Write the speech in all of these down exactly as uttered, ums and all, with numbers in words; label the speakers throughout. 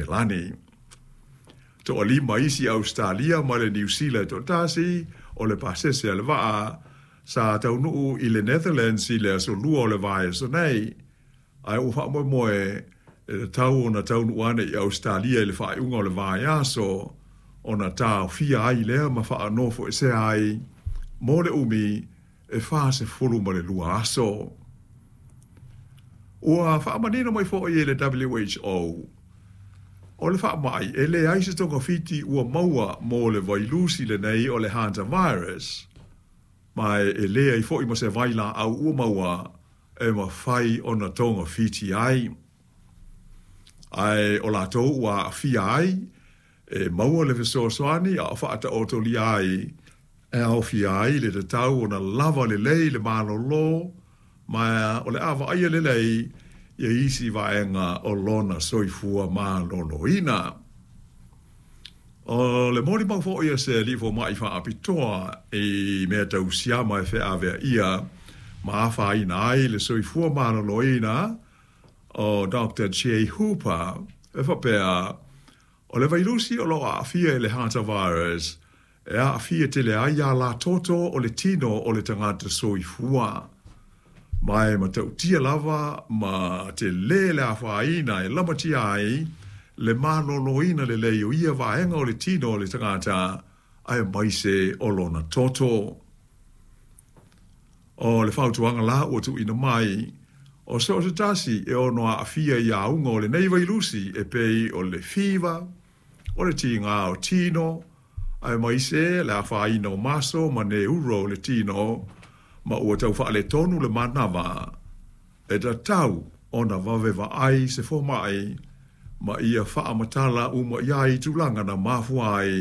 Speaker 1: Selani. Toʻalima isi Ausetalia ma le Niu Sila e toatasi o le pasese a le vaa sa taunuu i le Netherlands i le aso lua o le vaiaso nei, ae ua faamoemoe e tatau ona taunuu ane i Ausetalia i le faaiuga o le vaiaso ona taofia ai lea ma faanofoesea ai mo le umi e fasefulu ma le lua aso. Ua faamanino mai foʻi e le W H O o le faamai e leai se togafiti ua maua mo le vailusi lenei o le hantavirus, ma e leai foʻi ma se vailaau ua maua e mafai ona togafiti ai. Ae o latou ua aafia ai e maua le fesoasoani a o faataotolia ai e aofia ai le tatau ona lava lelei le malōlō ma o le a vaaia lelei ia isi vaega o lona soifua malōlōina. O le molimau foʻi a se alii fomaʻi faapitoa i mea tau siama e feaveaia ma afaina ai le soifua malōlōina o Doctor Jay Hooper e faapea o le vailusi o loo aafia i le hantavirus e aafia tele ai alātoto o le tino o le tagata soifua. Ma e matautia lava ma telē le afaina e lamatia ai le malōlōina lelei o ia vaega o le tino o le tagata aemaise o lona toto. O le fautuaga la ua tuuina mai o so o se tasi e ono aafia i auga o lenei vailusi e pei o le fiva, o le tigā o tino, aemaise le afaina o maso ma neuro o le tino, ma ua tau faaletonu le manava e tatau ona vave vaai se fomaʻi ma ia faamatala uma i ai tulaga na mafua ai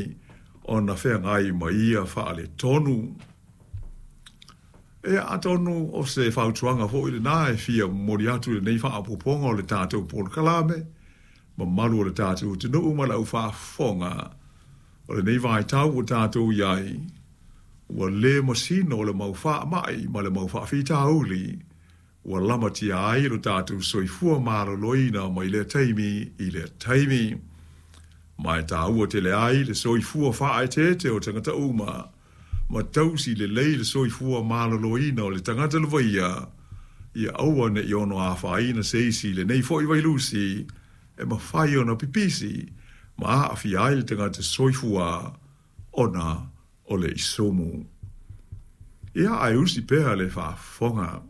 Speaker 1: ona feagai ma ia faaletonu. E atonu o se fautuaga foʻi lenā e fia momoli atu i lenei faaopoopoga o le tatou polokalame mamalu o le tatou atunuu ma le aufaafofoga o lenei vaitau ua tatou i ai ua lē masino o le mau faamaʻi ma le mau faafitauli ua lamatia ai lo tatou soifua malōlōina mai lea taimi i lea taimi. Ma e tāua tele ai le soifua faaeteete o tagata uma ma tausi lelei le soifua malōlōina o le tagata lavaia ia aua neʻi ono afaina se isi i lenei foʻi vailusi e mafai ona pipisi ma aafia ai le tagata soifua ona o le isumu. Ia ae usi pea le faafofoga.